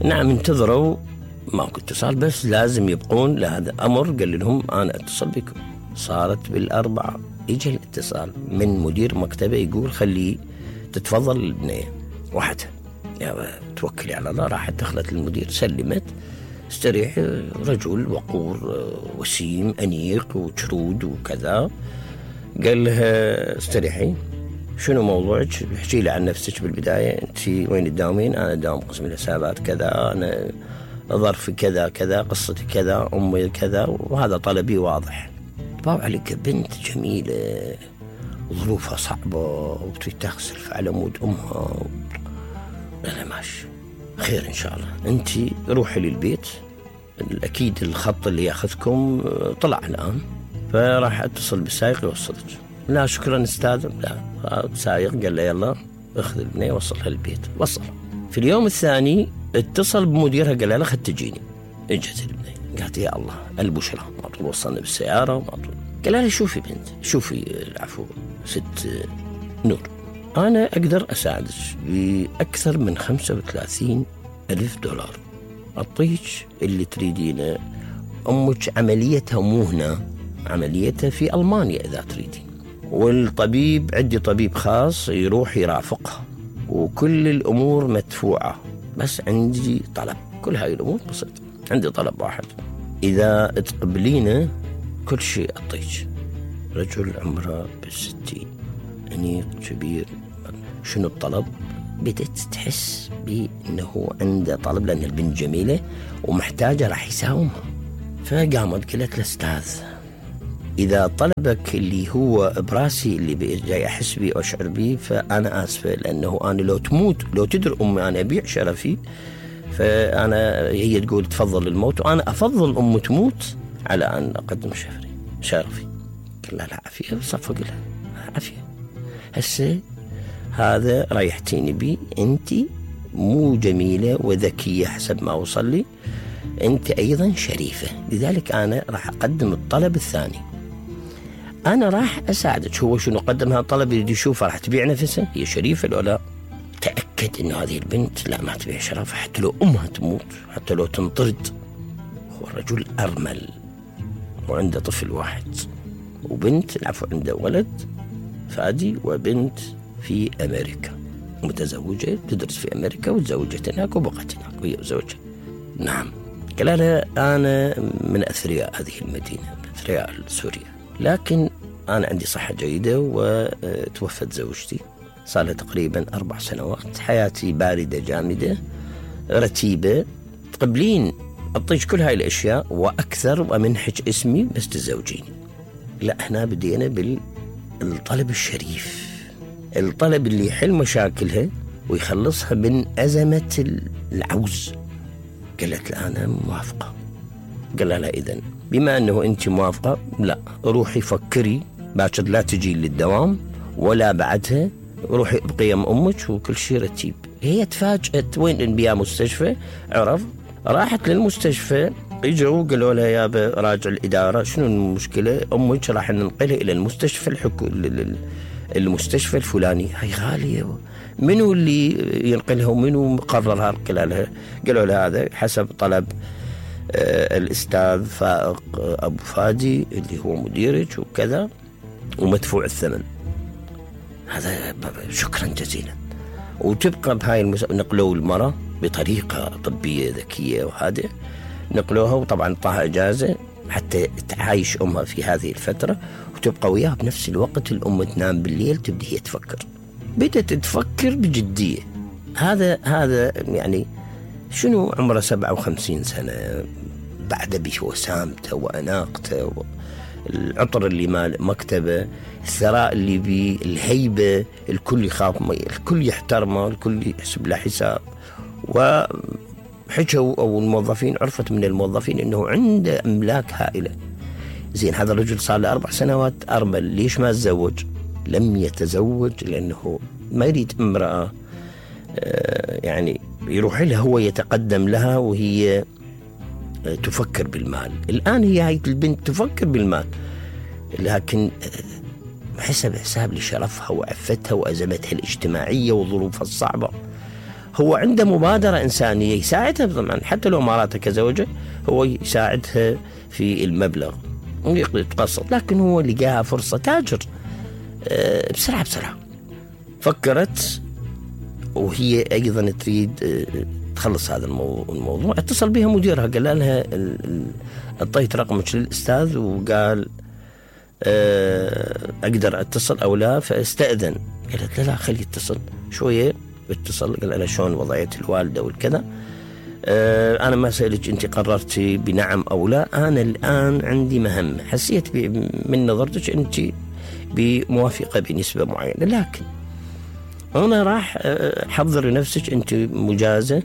نعم انتظروا ماكو اتصال، بس لازم يبقون لهذا أمر. قال لهم أنا أتصل بكم. صارت بالأربعة إجا الاتصال من مدير مكتبه يقول خلي تتفضل البنية وحدها. يا توكلي على الله. راحت دخلت المدير سلمت استريح. رجل وقور وسيم أنيق وشرود وكذا. قال لها استريحي، شنو موضوعك؟ احكي لي عن نفسك بالبداية. أنت وين تداومين؟ أنا داوم قسم الحسابات كذا، أنا ظرفي كذا كذا، قصتي كذا، أمي كذا، وهذا طلبي واضح. باو عليك بنت جميلة ظروفها صعبة وتريد تغسل على مود أمها. أنا ماشي خير إن شاء الله، أنت روحي للبيت، أكيد الخط اللي ياخذكم طلع الآن. فراح أتصل بالسائق يوصلك. لا شكرا أستاذ. لا سائق قال له يلا اخذ البنية وصلها للبيت. وصل. في اليوم الثاني اتصل بمديرها قال لها خد تجيني. اجت البنية قالت يا الله البشرى، ما طول وصلنا بالسيارة وما طول. قال لها شوفي بنت، شوفي العفو ست نور، أنا أقدر أساعدك بأكثر من 35,000 دولار. أعطيك اللي تريدينه. أمك عمليتها مو هنا، عمليتها في ألمانيا إذا تريدين، والطبيب عندي طبيب خاص يروح يرافقها، وكل الأمور مدفوعة. بس عندي طلب، كل هاي الأمور بسيطة. عندي طلب واحد، إذا تقبلينه كل شيء أعطيك. رجل عمره ب60 أنيق كبير. شنو الطلب؟ بدأت تحس بأنه عنده طلب، لأن البنت جميلة ومحتاجة راح يساومها. فقامت قالت له أستاذ، إذا طلبك اللي هو براسي اللي جاي أحس بيه وأشعر بيه فأنا آسفة، لأنه أنا لو تموت، لو تدر أمي أنا أبيع شرفي. فأنا هي تقول تفضل الموت، وأنا أفضل أم تموت على أن أقدم شرفي. قال لا عافية، صفق لها عافية. هسه هذا ريحتيني بيه، أنت مو جميلة وذكية حسب ما وصل لي، أنت أيضا شريفة، لذلك أنا راح أقدم الطلب الثاني. أنا راح أساعدك. هو شنو قدم هذا الطلب؟ يريد يشوفها راح تبيع نفسها، هي شريفة ولا لا؟ تأكد إنه هذه البنت لا ما تبيع شرفها، حتى لو أمها تموت، حتى لو تنطرد. هو الرجل أرمل وعنده طفل واحد وبنت، العفو عنده ولد فادي وبنت في أمريكا، متزوجة تدرس في أمريكا وتزوجت هناك وبقت هناك وهي وزوجها. نعم. قال لها أنا من أثرياء هذه المدينة، من أثرياء سوريا، لكن أنا عندي صحة جيدة وتوفت زوجتي صار لها تقريبا 4 سنوات. حياتي باردة جامدة رتيبة. تقبلين أعطيك كل هاي الأشياء وأكثر ومنحك اسمي بس تزوجيني. لا هنا بدينا بالطلب الشريف، الطلب اللي يحل مشاكلها ويخلصها من أزمة العوز. قالت له أنا موافقة. قال لها إذن بما أنه أنت موافقة، لا روحي فكري باكر لا تجي للدوام ولا بعدها، روحي بقيم أمك وكل شيء رتيب. هي تفاجأت وين بيها مستشفى، عرف. راحت للمستشفى، اجوا قالوا لها يابا راجع الإدارة، شنو المشكلة؟ أمك راح ننقلها إلى المستشفى المستشفى الفلاني. هاي غالية، منو اللي ينقلها ومنو مقررها؟ قالوا لها هذا حسب طلب الأستاذ فائق أبو فادي اللي هو مديرك وكذا، ومدفوع الثمن. هذا شكرا جزيلا. وتبقى بهاي نقلوا المرأة بطريقة طبية ذكية وهذا، نقلوها وطبعا طاها إجازة حتى تعايش أمها في هذه الفترة وتبقى وياها. بنفس الوقت الأم تنام بالليل تبدأ هي تفكر، بدأت تفكر بجدية. هذا يعني شنو عمره 57 سنة، بعد بوسامته وأناقته، العطر اللي مال مكتبه، الثراء اللي بيه، الهيبة، الكل يخاف، الكل يحترمه، الكل يحسب له حساب. وحكوا أو الموظفين عرفت من الموظفين إنه عنده أملاك هائلة. زين هذا الرجل صار له 4 سنوات أرمل، ليش ما تزوج؟ لم يتزوج لأنه ما يريد امرأة يعني يروح لها هو يتقدم لها وهي تفكر بالمال. الآن هي هاي البنت تفكر بالمال، لكن حسب حساب لشرفها وعفتها وأزمتها الاجتماعية وظروفها الصعبة. هو عنده مبادرة إنسانية يساعدها طبعا، حتى لو ماراتها كزوجة هو يساعدها في المبلغ ويتقسط، لكن هو لقاها فرصة تاجر بسرعة فكرت، وهي أيضا تريد تخلص هذا الموضوع. اتصل بها مديرها قال لها اعطيت رقمك للأستاذ وقال أقدر أتصل أو لا، فاستأذن. قالت لا خلي يتصل. شوية اتصل قال لها شلون وضعية الوالدة والكذا، أنا ما سألك أنت قررتي بنعم أو لا، أنا الآن عندي مهمة حسيت من نظرتك أنت بموافقة بنسبة معينة، لكن أنا راح حضر نفسك أنت مجازة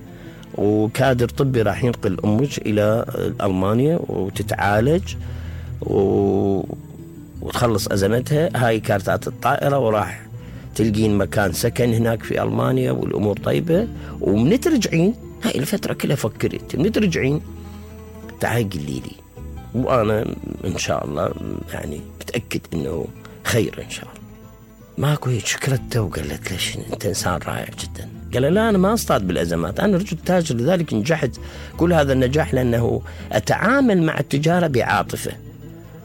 وكادر طبي راح ينقل أمك إلى ألمانيا وتتعالج وتخلص أزمتها. هاي كارتات الطائرة وراح تلقين مكان سكن هناك في ألمانيا والأمور طيبة، ومن ترجعين هاي الفترة كلها فكرت من ترجعين تعال قلي لي، وأنا إن شاء الله يعني متأكد إنه خير إن شاء الله. ماكو هيك شكرته وقالت ليش أنت إنسان رائع جدا. قال لا أنا ما أصطاد بالأزمات، أنا رجل تاجر لذلك نجحت كل هذا النجاح لأنه أتعامل مع التجارة بعاطفة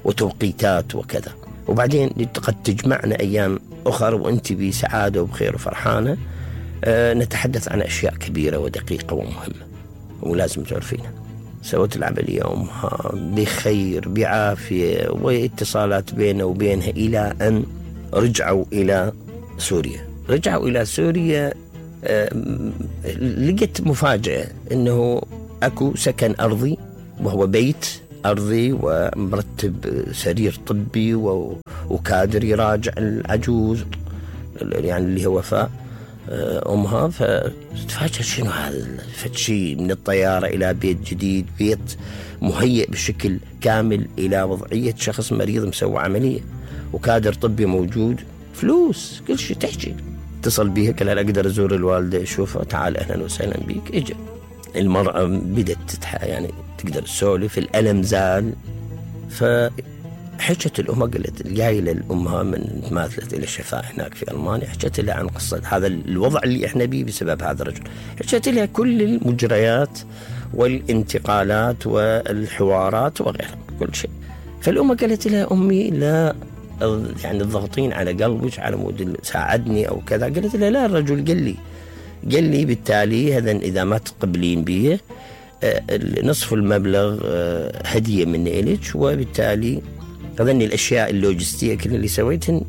وتوقيتات وكذا، وبعدين قد تجمعنا أيام أخرى وأنت بسعادة وبخير وفرحانة، نتحدث عن أشياء كبيرة ودقيقة ومهمة ولازم تعرفينها. سوت العملية أمها بخير بعافية واتصالات بينه وبينها إلى أن رجعوا إلى سوريا. لقيت مفاجأة أنه أكو سكن أرضي، وهو بيت أرضي ومرتب سرير طبي وكادر يراجع العجوز يعني اللي هو وفاء أمها. فتفاجأ شنو هذا فتشي من الطيارة إلى بيت جديد، بيت مهيئ بشكل كامل إلى وضعية شخص مريض مسوى عملية وكادر طبي موجود، فلوس كل شيء تحكي. اتصل بيها قال لها أقدر أزور الوالدة أشوفها، تعال أهلا وسهلا بيك. إجا المرأة بدت يعني تقدر تسولف، الألم زال. فحكت الأمها قالت الجايلة الأمها من ماثلت إلى الشفاء هناك في ألمانيا، حكت لها عن قصة هذا الوضع اللي إحنا بيه بسبب هذا الرجل، حكت لها كل المجريات والانتقالات والحوارات وغيرها كل شيء. فالأمة قالت لها أمي لا يعني الضغطين على قلبك على مود ساعدني أو كذا. قالت لها لا، الرجل قال لي بالتالي هذا إذا ما تقبلين بيه نصف المبلغ هدية مني إليك، وبالتالي هذني الأشياء اللوجستية كل اللي سويتهن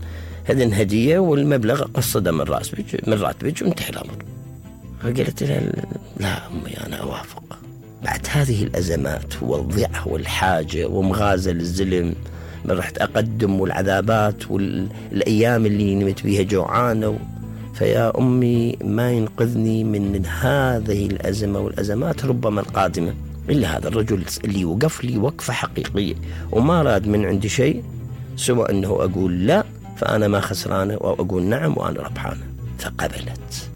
هذن هدية، والمبلغ قصده من راتبك وانتهي الأمر. فقالت لها لا أمي أنا أوافق. بعد هذه الأزمات والضيعة والحاجة ومغازل الزلم من رحت أقدم والعذابات والأيام اللي نمت بيها جوعانة، فيا أمي ما ينقذني من هذه الأزمة والأزمات ربما القادمة إلا هذا الرجل اللي وقف لي وقفة حقيقية وما راد من عندي شيء سوى أنه أقول لا فأنا ما خسرانة، وأقول نعم وأنا ربحانة. فقبلت.